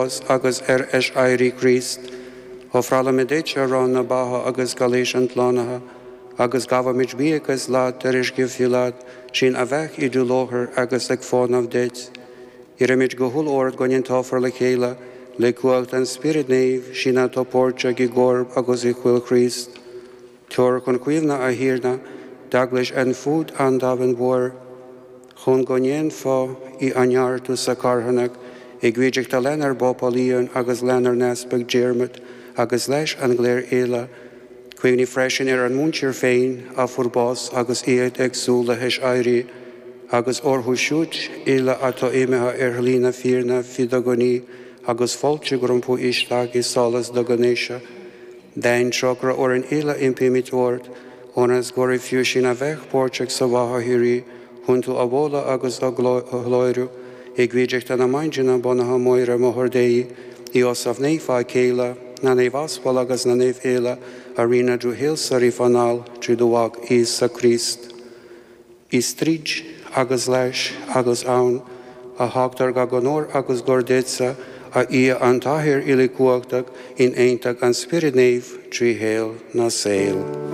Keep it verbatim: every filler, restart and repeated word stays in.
bhás agus ar aiséirí Chríost, Ofrálaimid duit arán na beatha agus cailís an tslánaithe, agus gabhaimid buíochas leat tar éis gur fiú leat sinn a bheith i do láthair agus ag fónamh duit. Iarraimid go humhal ort go n-aontófar le chéile le cumhacht an Spioraid Naoimh sinn atá páirteach i gcorp agus i bhfuil Chríost. Tabhair chun cuimhne a Thiarna, d'eaglais ar fud an domhain mhóir, chun go ndéanfá í a neartú sa charthanacht i gcuideachta lenár bPápa Leon agus lenár nEaspag Diarmuid agus leis an gcléir uile, Cuimhnigh freisin ar ár muintir féin a fuair bás agus iad ag súil le haiséirí, agus orthu siúd uile atá imithe ar shlí na fírinne faoi do ghnaoi agus fáiltigh rompu isteach i solas do ghnéise. Déan trócaire orainn uile impímid ort, ionas gur fiú sinn a bheith páirteach sa bheatha shíoraí, chun tú a mholadh agus a ghlóiriú, i gcuideachta na Maighdine beannaithe Muire Máthair Dé, Iósaf Naofa a céile, na naomh aspal agus na naoimh uile a rinne do thoil-sa riamh anall trí do Mhac Íosa Críost. Is tríd agus leis agus ann a thugtar gach onóir agus glóir duitse a Dhia an tAthair uilechumhachtach in aontacht an Spioraid Naoimh trí shaol na saol.